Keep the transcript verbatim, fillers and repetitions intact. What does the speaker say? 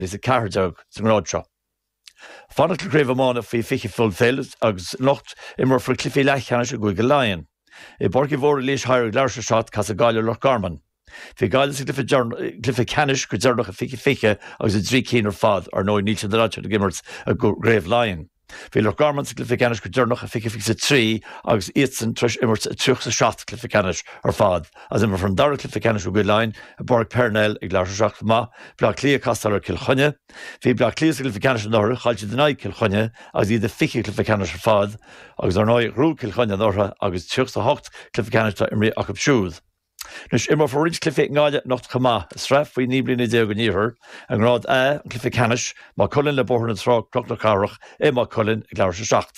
is a ceathair déag sa ngrád seo. Fanacht le craobh iomána faoi fiche Fulfil agus anocht imreofar cluichí leathcheannais i gCúige Laighean. I bPáirc Uí Mhórdha Laois Thoir ag leathuair tar éis a seacht casfaidh Gaillimh Loch Garman. Bhí Gaillimh sa gcluiche ceannais go deireanach i fiche fiche agus i dtrí cinn ar fad ar ndóigh níl siad ag imirt i gCraobh Laighean. Bhí Loch Garman sa gcluiche ceannais go deireanach i fiche fiche trí agus iadsan tar éis imirt i tríocha seacht cluiche ceannais ar fad as imreofar an dara cluiche ceannais i gCúige Laighean i bPáirc Parnell ag leathuair tar éis a seacht chomh maith, Bleá Cliath ag castáil ar Cill Chainnigh. Bhí Bleá Cliath sa gcluiche ceannais anuraidh, chaill siad in aghaidh Cill Chainnigh agus iad i fiche cluiche ceannais ar fad agus ar ndóigh ghnóthaigh Cill Chainnigh anuraidh agus tríocha hocht cluiche ceannais atá imrithe acu siúd. Anois imreofar roinnt cluichí i nGaillimh anocht chomh maith, sraith faoi naoi mbliana déag an Iarthair, i ngrád A, an cluiche ceannais, Maigh Cuilinn le Bóthar na Trá Cnoc na Cathrach i Maigh Cuilinn ag leathuair tar éis a seacht.